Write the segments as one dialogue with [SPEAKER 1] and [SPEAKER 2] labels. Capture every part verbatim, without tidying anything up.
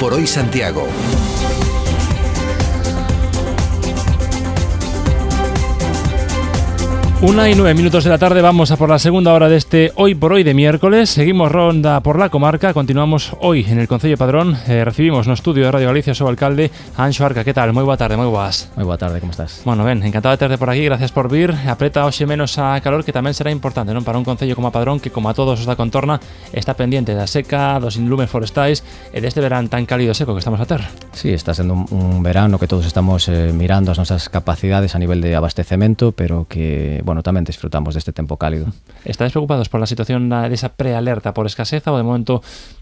[SPEAKER 1] por hoy Santiago.
[SPEAKER 2] Una y nueve minutos de la tarde, vamos a por la segunda hora de este Hoy por Hoy de miércoles. Seguimos ronda por la comarca, continuamos hoy en el Concello de Padrón. Eh, recibimos no estudio de Radio Galicia, su alcalde, Anxo Arca. ¿Qué tal? Moi boa tarde, moi boas.
[SPEAKER 3] Moi boa tarde, como estás?
[SPEAKER 2] Bueno, ben, encantado de terte por aquí, gracias por vir. Apreta hoxe menos a calor, que tamén será importante, non? Para un concello como a Padrón, que como a todos os da contorna, está pendiente da seca, dos inlumes forestais e deste verán tan cálido e seco que estamos a ter.
[SPEAKER 3] Sí, está sendo un, un verano que todos estamos eh, mirando as nosas capacidades a nivel de abastecemento, pero que, bueno, tamén disfrutamos deste tempo cálido.
[SPEAKER 2] Estáis preocupados por la situación desa prealerta por escaseza ou de momento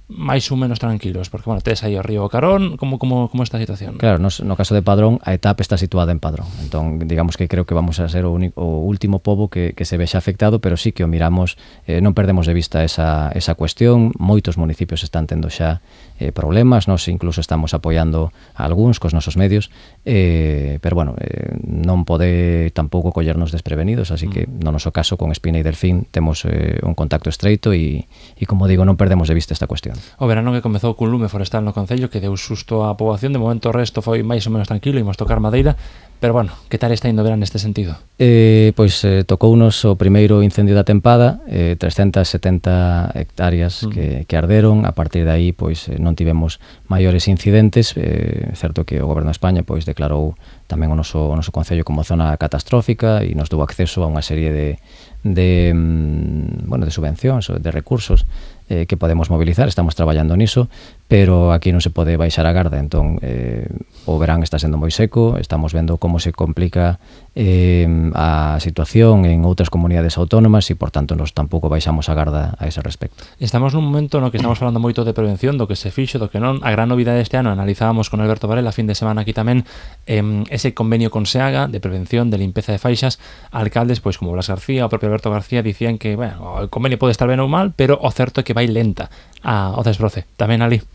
[SPEAKER 2] máis ou menos tranquilos? Porque, bueno, tedes aí o río Carón, como, como, como esta situación?
[SPEAKER 3] Claro, no, no caso de Padrón, a etapa está situada en Padrón. Entón, digamos que creo que vamos a ser o, único, o último pobo que, que se vexa afectado, pero sí que o miramos, eh, non perdemos de vista esa, esa cuestión. Moitos municipios están tendo xa eh, problemas, nós incluso estamos apoiando a algúns cos nosos medios, eh, pero, bueno, eh, non pode tampouco collernos desprevenidos, así que no noso caso con Espina e Delfín temos eh, un contacto estreito e, e, como digo, non perdemos de vista esta cuestión.
[SPEAKER 2] O verano que comezou cun lume forestal no Concello que deu susto á poboación, de momento o resto foi máis ou menos tranquilo, imos tocar madeira, pero, bueno, que tal está indo o verano neste sentido?
[SPEAKER 3] Eh, pois eh, tocounos o primeiro incendio da tempada, eh, trescentas e setenta hectáreas mm. que, que arderon. A partir de aí, pois eh, non tivemos maiores incidentes. Eh, certo que o Goberno de España pois declarou tamén o noso, o noso concello como zona catastrófica e nos dou acceso a unha serie de de, bueno, de subvencións, de recursos eh, que podemos mobilizar. Estamos traballando niso, pero aquí non se pode baixar a garda. Entón, eh, o verán está sendo moi seco, estamos vendo como se complica eh, a situación en outras comunidades autónomas e, por tanto, nos tampouco baixamos a garda a ese respecto.
[SPEAKER 2] Estamos nun momento no que estamos falando moito de prevención, do que se fixo, do que non. A gran novidade deste ano, analizábamos con Alberto Varela a fin de semana aquí tamén, eh, ese convenio con SEAGA de prevención de limpeza de faixas. Alcaldes, pois como Blas García, o propio Alberto García, dicían que, bueno, o convenio pode estar ben ou mal, pero o certo é que vai lenta a, o desbroce. Tamén ali.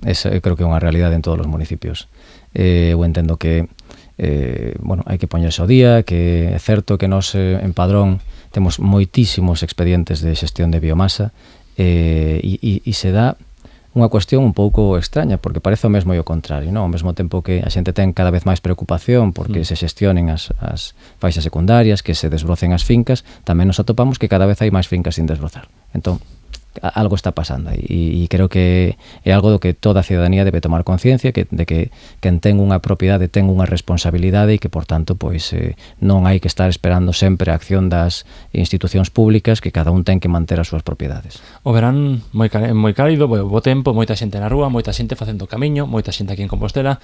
[SPEAKER 3] Esa creo que é unha realidade en todos os municipios. Eh, eu entendo que eh, bueno, hai que poñerse ao día, que é certo que nós eh, en Padrón temos moitísimos expedientes de xestión de biomasa eh, e, e, e se dá unha cuestión un pouco extraña, porque parece o mesmo e o contrario, non? Ao mesmo tempo que a xente ten cada vez máis preocupación porque mm. se xestionen as, as faixas secundarias, que se desbrocen as fincas, tamén nos atopamos que cada vez hai máis fincas sin desbrozar. Entón, algo está pasando e, e creo que é algo do que toda a ciudadanía debe tomar conciencia, que, de que quen ten unha propiedade ten unha responsabilidade e que, por tanto, pois eh, non hai que estar esperando sempre a acción das institucións públicas, que cada un ten que manter as súas propiedades.
[SPEAKER 2] O verán moi, moi cálido, bo, bo tempo, moita xente na rúa, moita xente facendo camiño, moita xente aquí en Compostela.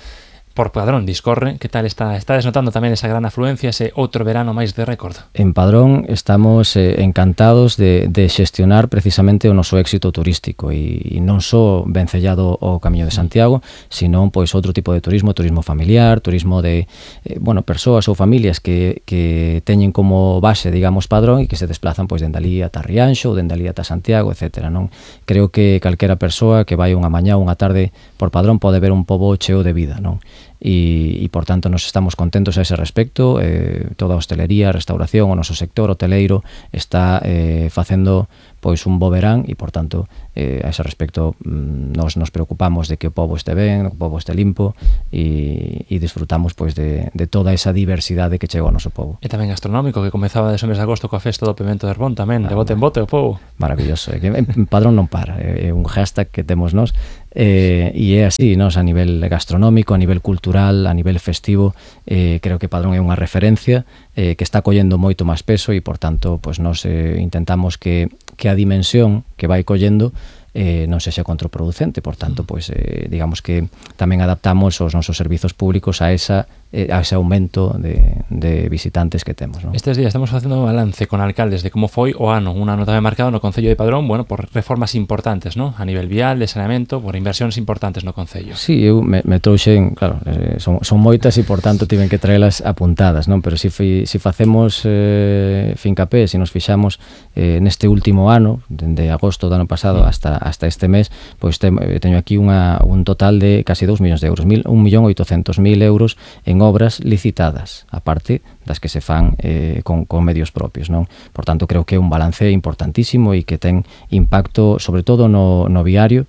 [SPEAKER 2] Por Padrón discorre, que tal está? Está desnotando tamén esa gran afluencia, ese outro verano máis de récord?
[SPEAKER 3] En Padrón estamos eh, encantados de, de xestionar precisamente o noso éxito turístico e, e non só vencellado ao Camiño de Santiago, senón pois outro tipo de turismo, turismo familiar, turismo de eh, bueno, persoas ou familias que, que teñen como base, digamos, Padrón e que se desplazan pois dende ali ata Rianxo ou dende ali ata Santiago, etcétera. Non? Creo que calquera persoa que vai unha mañá ou unha tarde por Padrón pode ver un pobo cheo de vida, non? E, e por tanto nos estamos contentos a ese respecto. Eh, toda a hostelería, a restauración, o noso sector hoteleiro está eh, facendo pois un bo verán e por tanto eh, a ese respecto nos nos preocupamos de que o pobo este ben, o pobo este limpo e, e disfrutamos pois de, de toda esa diversidade que chega ao noso pobo.
[SPEAKER 2] E tamén gastronómico, que comezaba de mes de agosto coa festa do Pemento de Herbón tamén, ah, de bote en bote o pobo.
[SPEAKER 3] Maravilloso, é que en Padrón non para, é un hashtag que temos nós. Eh, e é así, nos, a nivel gastronómico, a nivel cultural, a nivel festivo, eh, creo que Padrón é unha referencia eh, que está collendo moito máis peso e, por tanto, pues, nos eh, intentamos que, que a dimensión que vai collendo eh, non sexa contraproducente. Por tanto, pues, eh, digamos que tamén adaptamos os nosos servizos públicos a esa eh, a ese aumento de, de visitantes que temos, ¿no?
[SPEAKER 2] Estes días estamos facendo un balance con alcaldes de como foi o ano, un ano tamén marcado no Concello de Padrón, bueno, por reformas importantes, ¿no? A nivel vial, de saneamento, por inversións importantes no Concello.
[SPEAKER 3] Sí, eu me, me trouxen, claro, eh, son, son moitas e, por tanto, tiven que traelas apuntadas, non? Pero si, fi, si facemos eh, fincapé, si nos fixamos eh, neste último ano, dende agosto do ano pasado hasta, hasta este mes, pois te, teño aquí unha, un total de casi dous millóns de euros, mil, un millón oitocentos mil euros en obras licitadas, aparte das que se fan eh, con, con medios propios, non? Por tanto, creo que é un balance importantísimo e que ten impacto, sobre todo no, no viario,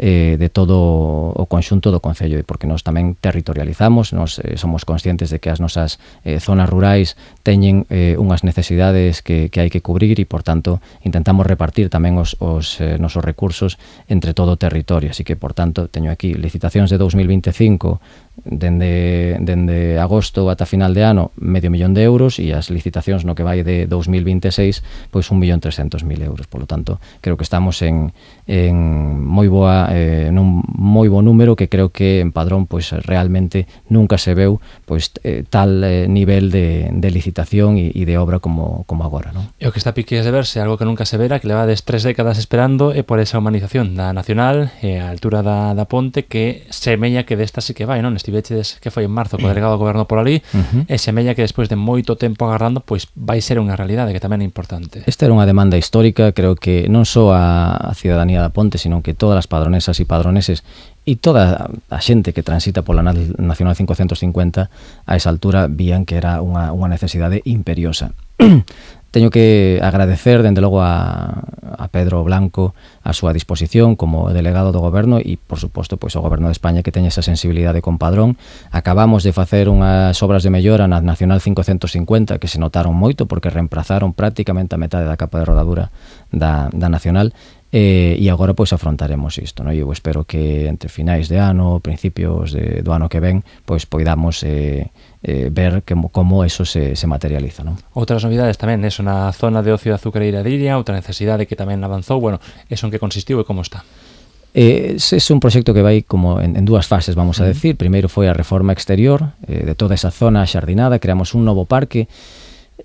[SPEAKER 3] eh, de todo o conxunto do concello, e porque nós tamén territorializamos, nós eh, somos conscientes de que as nosas eh, zonas rurais teñen eh, unhas necesidades que, que hai que cubrir e, por tanto, intentamos repartir tamén os, os eh, nosos recursos entre todo o territorio. Así que, por tanto, teño aquí licitacións de dous mil veinticinco dende, dende agosto ata final de ano medio millón de euros, e as licitacións no que vai de dous mil veintiséis pois un millón trescentos mil euros. Por lo tanto, creo que estamos en, en moi boa eh, nun moi bo número, que creo que en Padrón pois realmente nunca se veu pois eh, tal eh, nivel de, de licitación e, e de obra como, como agora, non?
[SPEAKER 2] E o que está piques de verse, algo que nunca se vera, que levades tres décadas esperando, é por esa humanización da Nacional e a altura da, da ponte, que semella que desta sí que vai, non? Estivechedes que foi en marzo co delegado do goberno por ali, uh-huh. e semella que despois de moito tempo agardando, pois vai ser unha realidade que tamén é importante.
[SPEAKER 3] Esta era unha demanda histórica, creo que non só a, a cidadanía da ponte, sino que todas as padronesas e padroneses e toda a xente que transita pola Nacional cincocentos cincuenta a esa altura vían que era unha, unha necesidade imperiosa. Teño que agradecer, dende logo, a, a Pedro Blanco a súa disposición como delegado do goberno e, por suposto, pois, o goberno de España, que teña esa sensibilidade con Padrón. Acabamos de facer unhas obras de mellora na Nacional cincocentos cincuenta que se notaron moito porque reemplazaron prácticamente a metade da capa de rodadura da, da Nacional. Eh, e agora pois afrontaremos isto, non? Eu espero que entre finais de ano, principios de, do ano que ven, pois poidamos eh, eh, ver que, como eso se, se materializa, non?
[SPEAKER 2] Outras novidades tamén, eso na zona de ocio de azucareira de Iria, outra necesidade que tamén avanzou, bueno, eso en que consistiu e como está?
[SPEAKER 3] Eh, ese é un proxecto que vai como en, en dúas fases, vamos a decir. Primeiro foi a reforma exterior eh, de toda esa zona xardinada, creamos un novo parque.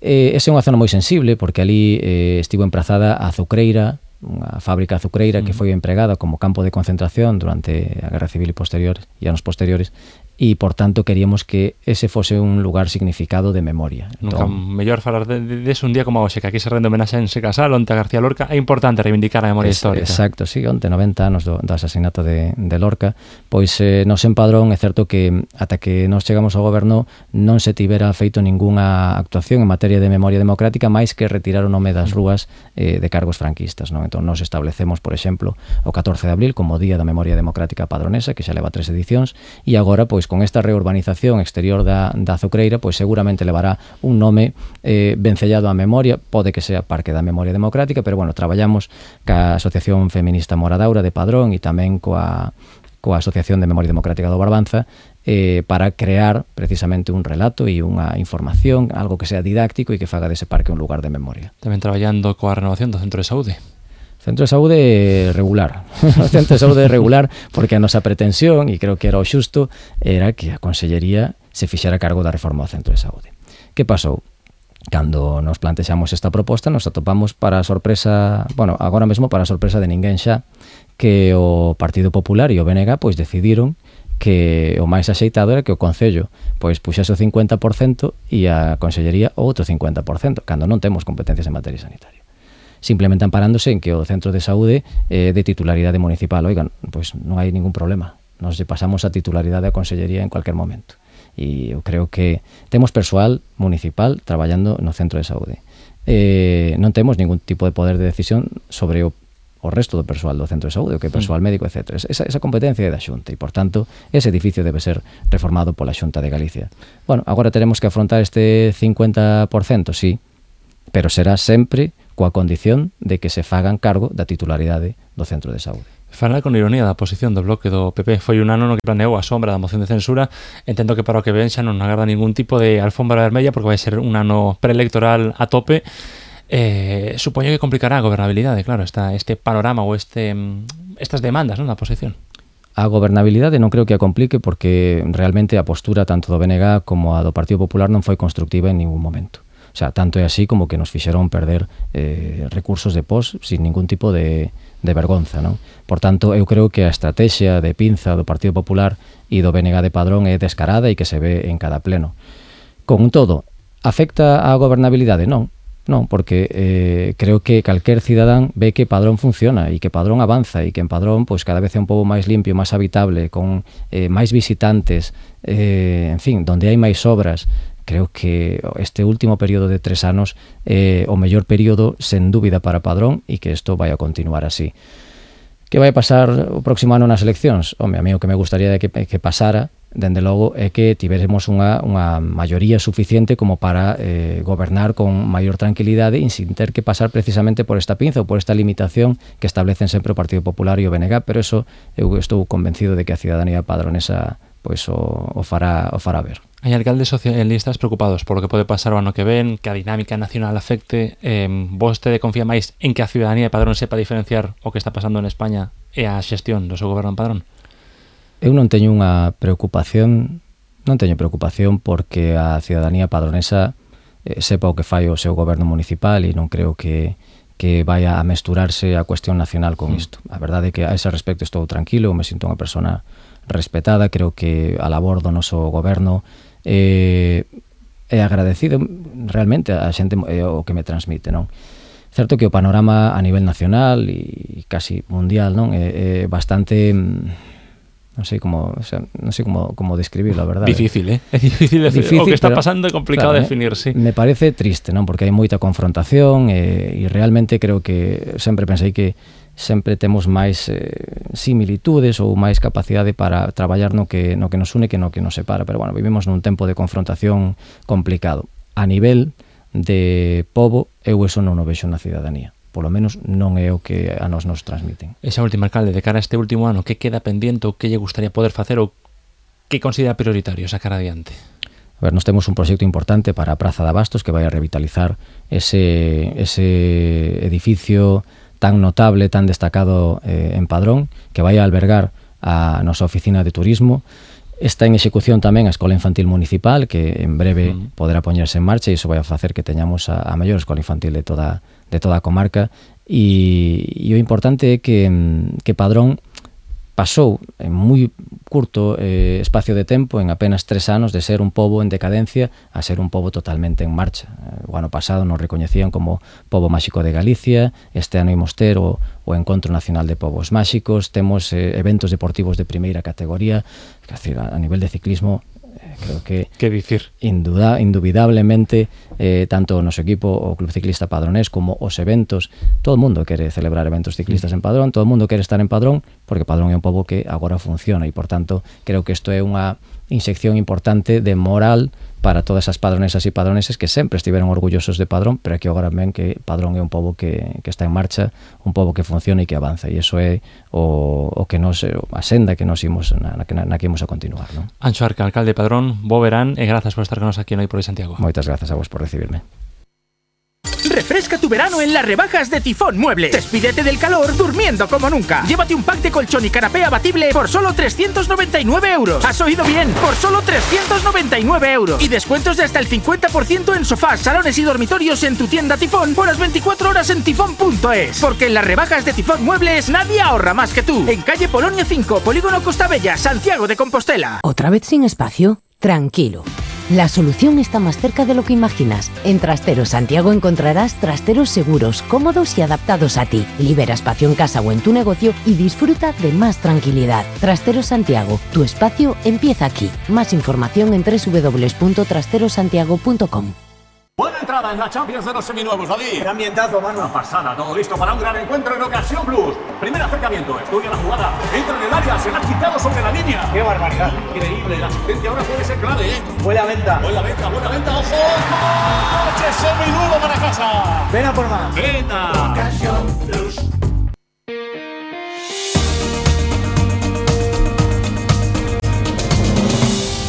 [SPEAKER 3] Eh, esa é unha zona moi sensible porque ali eh, estivo emprazada a azucreira, unha fábrica azucreira que foi empregada como campo de concentración durante a Guerra Civil e posteriores e anos posteriores, e, por tanto, queríamos que ese fose un lugar significado de memoria.
[SPEAKER 2] Nunca entón, mellor falar de, de, de un día como hoxe, que aquí se rende homenaxe en Se Casal, onte a García Lorca. É importante reivindicar a memoria es, histórica.
[SPEAKER 3] Exacto, sí, onte noventa anos do, do asasinato de, de Lorca. Pois eh, nos en Padrón é certo que ata que nos chegamos ao goberno non se tivera feito ningunha actuación en materia de memoria democrática máis que retirar o nome das rúas eh, de cargos franquistas, non? Entón nos establecemos, por exemplo, o catorce de abril como Día da Memoria Democrática Padronesa, que xa leva tres edicións, e agora, pois, con esta reurbanización exterior da, da azucreira, pois seguramente levará un nome eh, vencellado á memoria, pode que sea Parque da Memoria Democrática, pero bueno, traballamos ca Asociación Feminista Moradaura de Padrón e tamén coa, coa Asociación de Memoria Democrática do Barbanza eh, para crear precisamente un relato e unha información, algo que sea didáctico e que faga dese parque un lugar de memoria.
[SPEAKER 2] Tamén traballando coa renovación do Centro de Saúde.
[SPEAKER 3] Centro de Saúde regular. O Centro de Saúde regular porque a nosa pretensión, e creo que era o xusto, era que a Consellería se fixera cargo da reforma do Centro de Saúde. Que pasou? Cando nos plantexamos esta proposta, nos atopamos para a sorpresa, bueno, agora mesmo para a sorpresa de ninguén xa, que o Partido Popular e o B N G pois decidiron que o máis axeitado era que o Concello pois puxase o cincuenta por cento e a Consellería o outro cincuenta por cento, cando non temos competencias en materia sanitaria. Simplemente amparándose en que o Centro de Saúde é de titularidade municipal. Oigan, pois non hai ningún problema. Nos pasamos a titularidade a Consellería en cualquier momento. E eu creo que temos persoal municipal traballando no Centro de Saúde. Eh, non temos ningún tipo de poder de decisión sobre o, o resto do persoal do Centro de Saúde, o que é persoal médico, etcétera. Esa, esa competencia é da Xunta e, por tanto, ese edificio debe ser reformado pola Xunta de Galicia. Bueno, agora teremos que afrontar este cincuenta por cento, sí, pero será sempre coa condición de que se fagan cargo da titularidade do Centro de Saúde.
[SPEAKER 2] Falar con ironía da posición do bloque do P P. Foi un ano no que planeou a sombra da moción de censura. Entendo que para o que ven xa non agarda ningún tipo de alfombra vermella porque vai ser un ano preelectoral a tope. Eh, supoño que complicará a gobernabilidade, claro, esta, este panorama ou este, estas demandas, non, da oposición.
[SPEAKER 3] A gobernabilidade non creo que a complique porque realmente a postura tanto do B N G como a do Partido Popular non foi constructiva en ningún momento. O sea, tanto é así como que nos fixeron perder eh, recursos de pos sin ningún tipo de, de vergonza, non? Por tanto, eu creo que a estrategia de pinza do Partido Popular e do B N G de Padrón é descarada e que se ve en cada pleno. Con todo, afecta a gobernabilidade? Non. Non, porque eh, creo que calquer cidadán ve que Padrón funciona e que Padrón avanza e que en Padrón pois cada vez é un pouco máis limpio, máis habitable, con eh, máis visitantes, eh, en fin, donde hai máis obras. Creo que este último período de tres anos é eh, o mellor período, sen dúbida, para Padrón e que isto vai a continuar así. Que vai pasar o próximo ano nas eleccións? Home, a mí o que me gustaría de que, que pasara, dende logo, é que tiveremos unha, unha maioría suficiente como para eh, gobernar con maior tranquilidade e sin ter que pasar precisamente por esta pinza ou por esta limitación que establecen sempre o Partido Popular e o B N G, pero eso eu estou convencido de que a cidadanía padronesa pois o, o fará o fará ver.
[SPEAKER 2] Hai alcaldes socialistas preocupados por lo que pode pasar o ano que ven, que a dinámica nacional afecte. Eh, vostede confía máis en que a ciudadanía de Padrón sepa diferenciar o que está pasando en España e a xestión do seu goberno en Padrón?
[SPEAKER 3] Eu non teño unha preocupación, non teño preocupación porque a ciudadanía padronesa eh, sepa o que fai o seu goberno municipal e non creo que que vaya a mesturarse a cuestión nacional con isto. A verdade é que a ese respecto estou tranquilo, me sinto unha persona respetada, creo que a labor do noso goberno eh, é agradecido realmente a xente é o que me transmite, non? Certo que o panorama a nivel nacional e casi mundial, non, é, é bastante non sei como, o sea, non sei como como describirlo, a verdade.
[SPEAKER 2] Difícil, eh? É difícil decir, difícil, o que está pasando é complicado claro, definir, sí.
[SPEAKER 3] Me parece triste, non? Porque hai moita confrontación e, e realmente creo que sempre pensei que sempre temos máis eh, similitudes ou máis capacidade para traballar no que, no que nos une que no que nos separa, pero bueno, vivimos nun tempo de confrontación complicado. A nivel de pobo, eu eso non o vexo na cidadanía. Polo menos non é o que a nos nos transmiten.
[SPEAKER 2] Esa última, alcalde, de cara a este último ano, que queda pendiente ou que lle gustaría poder facer ou que considera prioritario sacar adiante?
[SPEAKER 3] A ver, nos temos un proxecto importante para a Praza de Abastos que vai a revitalizar ese, ese edificio tan notable, tan destacado eh, en Padrón, que vai a albergar a nosa oficina de turismo. Está en execución tamén a Escola Infantil Municipal, que en breve mm. poderá poñerse en marcha e iso vai a facer que teñamos a, a maior escola infantil de toda, de toda a comarca. E, e o importante é que, que Padrón pasou en moi curto eh, espacio de tempo, en apenas tres anos, de ser un pobo en decadencia a ser un pobo totalmente en marcha. O ano pasado nos recoñecían como pobo máxico de Galicia, este ano imos ter o, o Encontro Nacional de Pobos Máxicos, temos eh, eventos deportivos de primeira categoría, que, decir, a, a nivel de ciclismo, eh, creo que
[SPEAKER 2] que dicir?
[SPEAKER 3] Induda, indubidablemente eh, tanto o noso equipo, o Club Ciclista Padronés, como os eventos, todo o mundo quere celebrar eventos ciclistas en Padrón, todo o mundo quere estar en Padrón, porque Padrón é un pobo que agora funciona e, por tanto, creo que isto é unha inyección importante de moral para todas as padronesas e padroneses que sempre estiveron orgullosos de Padrón, pero que agora ven que Padrón é un pobo que, que está en marcha, un pobo que funciona e que avanza, e iso é o, o que nos, a senda que nos imos na, na, na que imos a continuar, non?
[SPEAKER 2] Anxo Arca, alcalde de Padrón, bo verán e grazas por estar con nos aquí en Hoy por Hoy Santiago.
[SPEAKER 3] Moitas grazas a vos por recibirme.
[SPEAKER 1] Refresca tu verano en las rebajas de Tifón Muebles. Despídete del calor durmiendo como nunca. Llévate un pack de colchón y canapé abatible por solo trescientos noventa y nueve euros. ¿Has oído bien? Por solo trescientos noventa y nueve euros. Y descuentos de hasta el cincuenta por ciento en sofás, salones y dormitorios en tu tienda Tifón por las veinticuatro horas en tifón punto es. Porque en las rebajas de Tifón Muebles nadie ahorra más que tú. En calle Polonia cinco, Polígono Costa Bella, Santiago de Compostela.
[SPEAKER 4] ¿Otra vez sin espacio? Tranquilo. La solución está más cerca de lo que imaginas. En Trasteros Santiago encontrarás trasteros seguros, cómodos y adaptados a ti. Libera espacio en casa o en tu negocio y disfruta de más tranquilidad. Trasteros Santiago, tu espacio empieza aquí. Más información en doble u doble u doble u punto trasteros santiago punto com.
[SPEAKER 5] Buena entrada en la Champions de los seminuevos, David.
[SPEAKER 6] ¡Qué ambientazo, mano!
[SPEAKER 5] Una pasada, todo listo para un gran encuentro en Ocasión Plus. Primer acercamiento, estudia la jugada, entra en el área, se la ha quitado sobre la línea.
[SPEAKER 6] ¡Qué barbaridad!
[SPEAKER 5] Increíble, la asistencia ahora puede ser clave, ¿eh?
[SPEAKER 6] Buena venta.
[SPEAKER 5] Buena venta, buena venta, ojo. ¡Coche seminuevo para casa!
[SPEAKER 6] Ven a por más.
[SPEAKER 5] ¡Venta!
[SPEAKER 6] Ocasión Plus.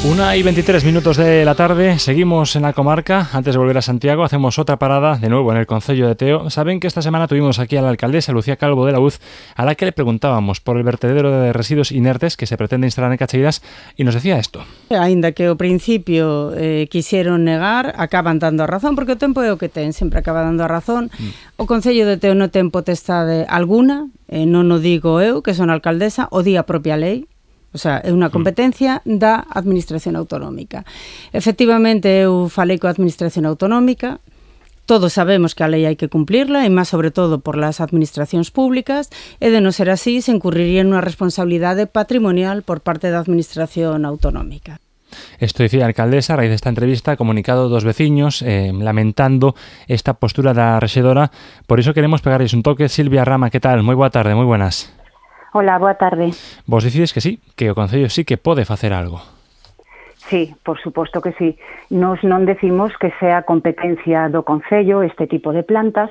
[SPEAKER 2] Una y veintitrés minutos de la tarde, seguimos en la comarca. Antes de volver a Santiago, hacemos otra parada de nuevo en el concello de Teo. Saben que esta semana tuvimos aquí a la alcaldesa Lucía Calvo de la U Z, a la que le preguntábamos por el vertedero de residuos inertes que se pretende instalar en Cacheiras, y nos decía esto.
[SPEAKER 7] Ainda que ao principio eh, quixeron negar, acaban dando a razón, porque o tempo é o que ten, sempre acaba dando a razón. Mm. O concello de Teo non ten potestade alguna, eh, non o digo eu, que son alcaldesa, o di a propia lei. O sea, é unha competencia da Administración Autonómica. Efectivamente, eu falei coa Administración Autonómica, todos sabemos que a lei hai que cumplirla, e máis sobre todo por las administracións públicas, e de non ser así, se incurriría en unha responsabilidade patrimonial por parte da Administración Autonómica.
[SPEAKER 2] Esto decía a alcaldesa a raíz desta entrevista, comunicado dos veciños eh, lamentando esta postura da rexedora. Por iso queremos pegarles un toque. Silvia Rama, que tal? Moi boa tarde, moi buenas.
[SPEAKER 8] Hola, boa tarde.
[SPEAKER 2] Vos dicides que sí, que o Concello sí que pode facer algo.
[SPEAKER 8] Sí, por suposto que sí. Nos non decimos que sea competencia do Concello este tipo de plantas,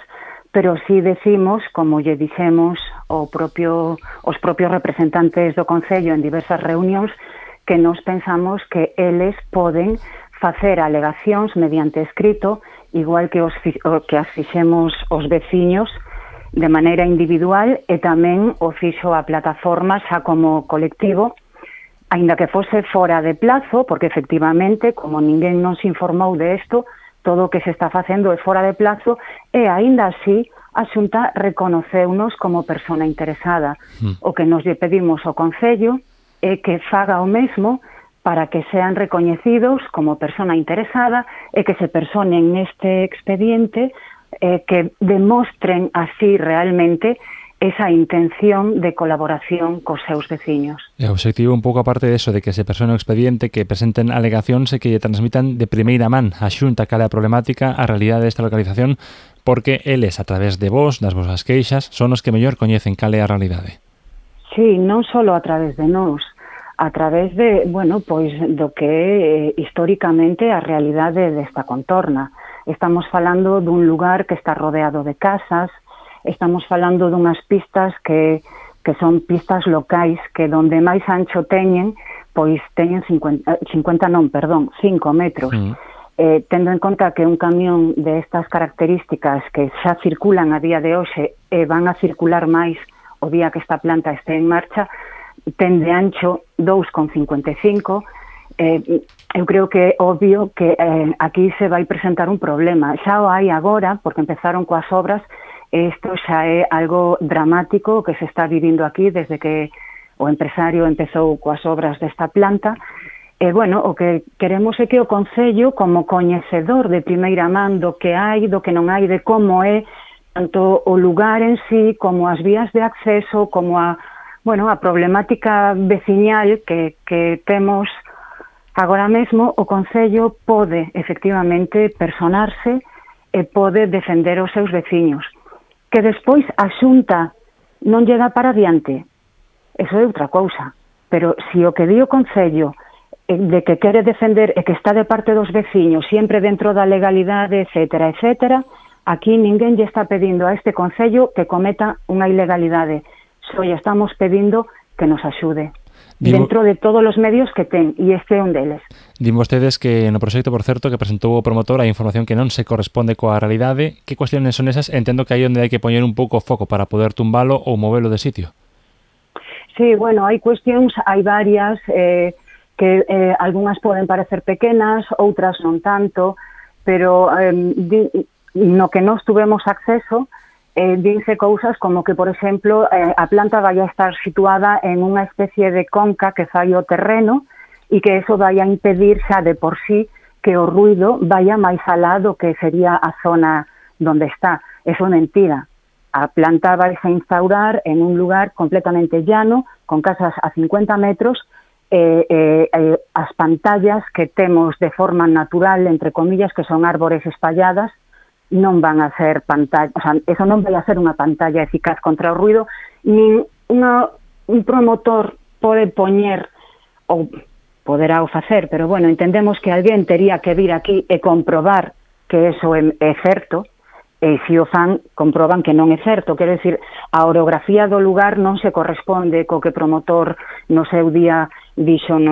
[SPEAKER 8] pero sí decimos, como lle dixemos o propio, os propios representantes do Concello en diversas reunións, que nos pensamos que eles poden facer alegacións mediante escrito, igual que os que as fixemos os veciños de maneira individual, e tamén o fixo a plataforma xa como colectivo, aínda que fose fora de plazo, porque efectivamente, como ninguén nos informou de isto, todo o que se está facendo é fora de plazo, e aínda así a Xunta reconoceunos como persona interesada. Mm. O que nos lle pedimos ao Concello é que faga o mesmo para que sean recoñecidos como persona interesada e que se personen neste expediente, eh, que demostren así realmente esa intención de colaboración cos seus veciños.
[SPEAKER 2] E o obxectivo un pouco aparte de eso, de que se persone o expediente, que presenten alegacións e que transmitan de primeira man a Xunta cal é a problemática, a realidade desta localización, porque eles, a través de vos, das vosas queixas, son os que mellor coñecen cal é a realidade.
[SPEAKER 8] Sí, non só a través de nós, a través de, bueno, pois do que é eh, históricamente a realidade desta contorna. Estamos falando dun lugar que está rodeado de casas, estamos falando dunhas pistas que, que son pistas locais, que donde máis ancho teñen, pois teñen cincuenta, cincuenta non, perdón, cinco metros. Mm. Eh, tendo en conta que un camión de estas características que xa circulan a día de hoxe e van a circular máis o día que esta planta este en marcha, ten de ancho dous con cincuenta e cinco. Eh, eu creo que é obvio que eh, aquí se vai presentar un problema. Xa o hai agora, porque empezaron coas obras, e isto xa é algo dramático que se está vivindo aquí desde que o empresario empezou coas obras desta planta. E, bueno, o que queremos é que o Concello, como coñecedor de primeira man do que hai, do que non hai, de como é, tanto o lugar en sí, como as vías de acceso, como a, bueno, a problemática veciñal que, que temos agora mesmo, o Concello pode, efectivamente, personarse e pode defender os seus veciños. Que despois a Xunta non lle dá para adiante, eso é outra cousa. Pero se o que di o Concello de que quere defender e que está de parte dos veciños, sempre dentro da legalidade, etcétera, etcétera, aquí ninguén lle está pedindo a este Concello que cometa unha ilegalidade. Só lle estamos pedindo que nos axude. Digo, dentro de todos os medios que ten, e este é un deles.
[SPEAKER 2] Din vostedes que no proxecto, por certo, que presentou o promotor, hai información que non se corresponde coa realidade. Que cuestiones son esas? Entendo que aí onde hai que poñer un pouco o foco para poder tumbalo ou movelo de sitio.
[SPEAKER 8] Sí, bueno, hai cuestións, hai varias, eh, que eh, algunhas poden parecer pequenas, outras non tanto, pero eh, di, no que nós tuvemos acceso, Eh, dinse cousas como que, por exemplo, eh, a planta vai a estar situada en unha especie de conca que fai o terreno e que eso vai a impedir xa de por sí que o ruido vaya máis alá do que sería a zona donde está. Eso é mentira. A planta vai a instaurar en un lugar completamente llano, con casas a cincuenta metros, eh, eh, eh, as pantallas que temos de forma natural, entre comillas, que son árbores espalladas, non van a ser pantalla, o sea, eso non vai a ser unha pantalla eficaz contra o ruido, nin unha, un promotor pode poñer, ou poderá o facer, pero bueno, entendemos que alguén tería que vir aquí e comprobar que eso é, é certo, e se o fan, comproban que non é certo. Quero dicir, a orografía do lugar non se corresponde co que promotor no seu día dixo no